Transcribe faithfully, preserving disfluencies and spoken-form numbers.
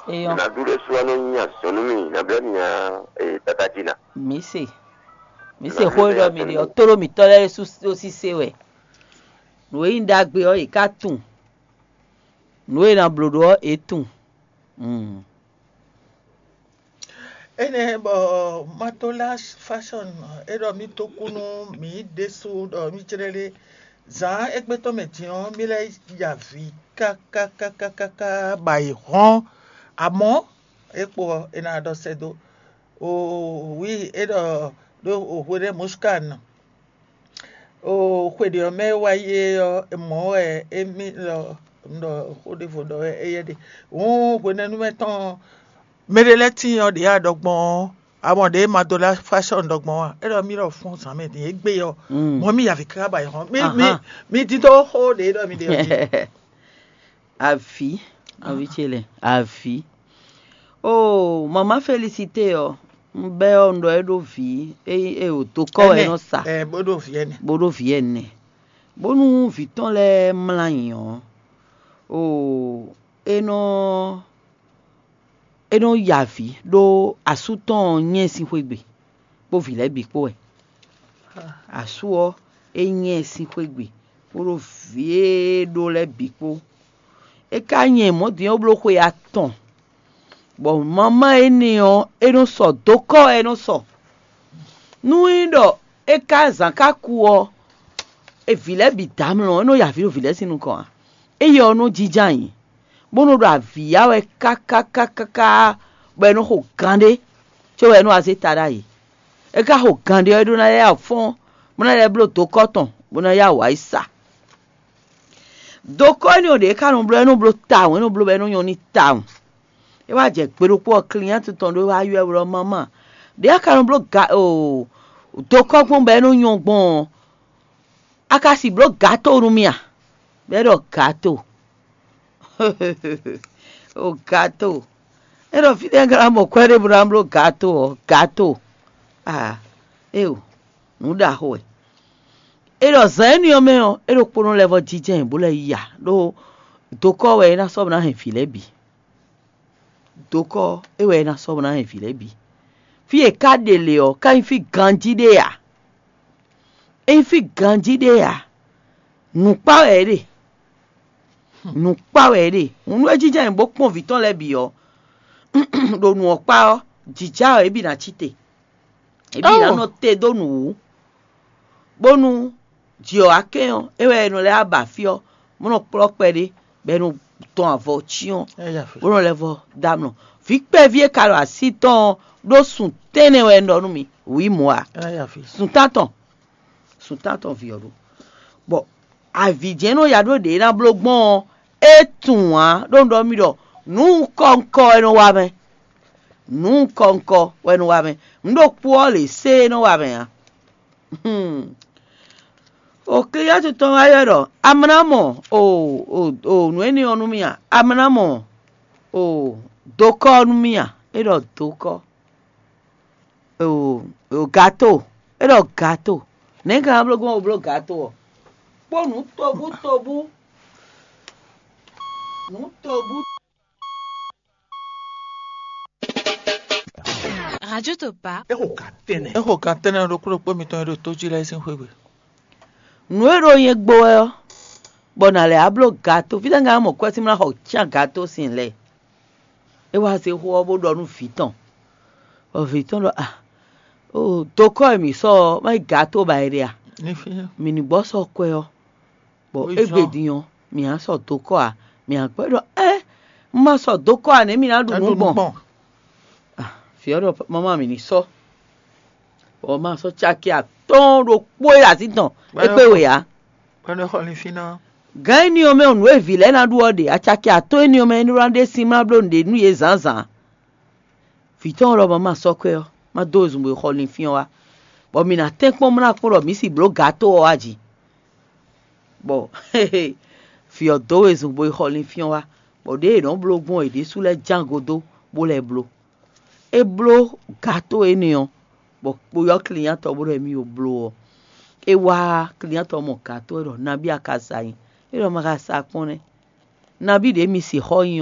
Eyɔn. Nǎɖú ɖésú wɛ nɔ nyi azɔ̌ nú mì, nǎ blɛ́ mì nya, ee, tata jí ná. Mǐ se. Mǐ se xó e ɖɔ mǐ ɖe ɔ́, tóɖó mǐtɔn lɛ́ɛ ɖésú ɖó sísé wɛ. Nǔ e nyí ɖagbe ɔ́, yě ká tunwun. Nǔ e è nǎ bló ɖó ɔ́, yě tunwun. Mm. Énɛ́ bɔ Matola Fashion é ɖɔ mì tó kú nú mǐ ɖésú ɖɔ mì jlɛ́ ɖé. Zǎn égbé tɔn mɛ din ɔ́, mì lɛ́ ya avǐ káká káká káká ba yi hɔ́n. Amɔ̌, é kpo ɔ́, è nǎ ɖɔ sɛ́ dó. Oo, wi é ɖɔ ɖó hweɖé Muskan, oo, xwe ɖě ɔ́ mɛ e wá yi é ɔ́, mɔ̌ wɛ émí ɖɔ un ɖɔ xó ɖěvo ɖɔ wɛ éyɛ́ ɖe. Hǔn hwenɛ́nu mɛ tɔn ɔ́, mɛ ɖé lɛ́ɛ tíin ɔ́ ɖě a ɖɔ gbɔn ɔ́, amɔ ɖě ma dó lá fáshɔ́n ɖɔ gbɔn ɔ́, é ɖɔ mì ɖɔ fún zǎn mɛ din égbé ɔ́, mɔ̌ mì yi avǐ káká ba yi hɔn. Mì mì Ahan. Mì dídó xó ɖě ɖɔ mì ɖe ɔ́ jí. Avǐ, avǐ ce lɛ, avǐ. Oo, mamá Félicité ɔ́, un bɛ́ ɔ́, un ɖɔ é ɖó vǐ, é é o dokɔ wɛ é nɔ sa, Ɛ bó ɖo vǐ ɛnɛ. Bó ɖó vǐ ɛnɛ. Bónú vǐ tɔn lɛ́ɛ mlá nyi ɔ́, oo, é nɔ é nɔ ya avǐ ɖó asú tɔn ɔ́ nyɛ sín xwé gbe, kpó vǐ lɛ́ɛ bǐ kpó wɛ. Asú ɔ́, é nyɛ sín xwé gbe, kpódó vǐ e ɖó lɛ́ɛ bǐ kpó. É ka nyɛ mɔ̌ din ɔ́ bló xwe atɔn, bɔ mamá énɛ́ ɔ́, é nɔ sɔ dokɔ wɛ é nɔ sɔ. Nú é ɖɔ é ka zǎn ka ku ɔ́, é vǐ lɛ́ɛ bǐ dó amlɔ, é nɔ ya avǐ ɖo vǐ lɛ́ɛ sín nukɔn ǎ. Éyɛ́ ɔ́ nɔ jínjɔ́n ayǐ, bó nɔ ɖo avǐ ya wɛ káká káká káká, bɔ é nɔ xo gan ɖé, có wɛ é nɔ wá zé ta ɖ'ayǐ. É ka xo gan ɖé ɔ́, é ɖó ná lɛ́ ya fɔ́n, bó ná lɛ́ bló dokɔ tɔn, bó ná ya wǎ yi sa. Dokɔ énɛ́ ɔ́ ɖě é ka nɔ bló, é nɔ bló tawun, é nɔ bló bɔ é nɔ nyɔ́ n'i tawun. É wá jɛ gbe ɖokpó ɔ́, client tɔn ɖé wá ylɔ́ ɛ ɖɔ mamá, ɖě a ka nɔ bló ga o dokɔ gbɔn bɔ é nɔ nyɔ́ gbɔn ɔ́, a ka si bló gato nú mì a? Bɔ é ɖɔ gato. O gato. É ɖɔ fítɛ́ un ka ná mɔ kwɛ́ ɖé bó ná bló gato ɔ́, gato. Ah, éo, nǔ ɖaxó wɛ. É ɖɔ zǎn énɛ́ ɔ́ mɛ ɔ́, é ɖokpónɔ lɛ́ vɔ́ jínjɔ́n ɛ bó lɛ́ yi ya, ɖó dokɔ wɛ é ná sɔ́ bó ná hɛn vǐ lɛ́ɛ bǐ. Dokɔ é wɛ é ná sɔ́ bó ná hɛn vǐ lɛ́ɛ bǐ. Fí e é ka ɖe lě ɔ́, ka nyí fí ganjí ɖé ǎ. É nyí fí ganjí ɖé ǎ. Nǔkpá wɛ é ɖe. Nǔkpá wɛ é ɖe. Hǔn nú é jínjɔ́n ayǐ bó kpɔ́n vǐ tɔn lɛ́ɛ bǐ ɔ́, ɖo nǔ ɔ́ kpá ɔ́, jǐjá ɔ́, é bǐ ná cí te. É bǐ ná nɔ te dó nǔ wú, bónú jǐ ɔ́ wá kɛn ɔ́, é wɛ è nɔ lɛ́ wá ba fí ɔ́, bó nɔ kplɔ́ kpɛɖé, bɔ è nɔ dɔn avɔ cyɔ́n, bó nɔ lɛ́ vɔ́ dó amlɔ. Vǐ kpɛví e ka ɖo así tɔn ɔ́ ɖó sun tɛ́nnɛ wɛ un ɖɔ nú mi, wǐ mɔ̌ ǎ. Sun tántɔn, sun tántɔn vǐ ɔ́ ɖó. Bɔ avǐ jɛ́n nɔ ya ɖó ɖě ná bló gbɔn ɔ́, é tunwun ǎ, ɖó un ɖɔ mì ɖɔ nǔ kɔ́nkɔ wɛ nɔ wa mɛ. Nǔ kɔ́nkɔ wɛ nɔ wa mɛ. Nǔ ɖokpó ɔ́ lě sé é nɔ wa mɛ ǎ. O client tɔn wá ylɔ́ ɖɔ amlá mɔ o o o nǔ énɛ́ ɔ́ nú mì a? Amlá mɔ o dokɔ ɔ́ nú mì a? É ɖɔ dokɔ. O o gato. É ɖɔ gato. Nɛ̌ ka ná bló gbɔn o bló gato ɔ́? Kpó nǔ tobú tobú. Nǔ tobú. Radio Topa. É xo gan tɛ́nnɛ. É xo gan tɛ́nnɛ ɖokpó ɖokpó mitɔn e ɖo tó jí lɛ́ɛ sín xwé gbe. Nǔ e ɖo nyɛ gbo wɛ ɔ́, bɔ nǎ lɛ́ wá bló gato. Fítɛ́ un ka ná mɔ kwɛ́ sín mlá xɔ cyán gato sín lɛ́ɛ? É wá zé xó ɔ́ bó ɖɔ nú vǐ tɔn, bɔ vǐ tɔn ɖɔ a, o dokɔ e mǐ sɔ́ ɔ́, má nyí gato ba è ɖe a? Ní fí. Mǐ ní gbɔ sɔ́ kwɛ́ ɔ́, bɔ égbé din ɔ́, mǐ á sɔ dokɔ ǎ. Mǐ á gbɔ ɖɔ ɛ, un ma sɔ dokɔ ǎ nɛ̌ mǐ ná ɖu nǔ gbɔn? Vǐ ɔ́ ɖɔ mama mǐ ní sɔ́, bɔ ma sɔ́ caki atɔ́ɔ́n ɖokpó e azǐn tɔn é kpé we ǎ. Gǎn énɛ́ ɔ́ mɛ ɔ́, nǔ e vǐ lɛ́ɛ ná ɖu ɔ́ ɖe, acaki atɔ́ɔ́n énɛ́ ɔ́ mɛ é nɔ ná ɖe sin mlá bló nǔɖé nú yě zǎnzǎn. Vǐ tɔn ɔ́ ɖɔ mama sɔ́ kwɛ́ ɔ́, má dó wezun bo yi xɔ linfín ɔ́ wá, bɔ mǐ ná tɛ́nkpɔ́n mlá kpɔ́n ɖɔ mǐ si blǒ gato ɔ́ wá jǐ. Bɔ vǐ ɔ́ dó wezun bo yi xɔ linfín ɔ́ wá, bɔ ɖěe è nɔ́ bló gbɔn è ɖésú lɛ́ɛ ján godó bó lɛ́ bló. É bló gato énɛ́ ɔ́, bɔ kpo ɔ́ client ɔ́ bó ɖɔ émí yo bló ɔ́, é wá client ɔ́ mɔ gato ɔ́ ɖɔ nabí a ka sa nyi? É ɖɔ ma ka sa kpɔ́n nɛ́. Nabí ɖě mi sixɔ nyi ɔ́,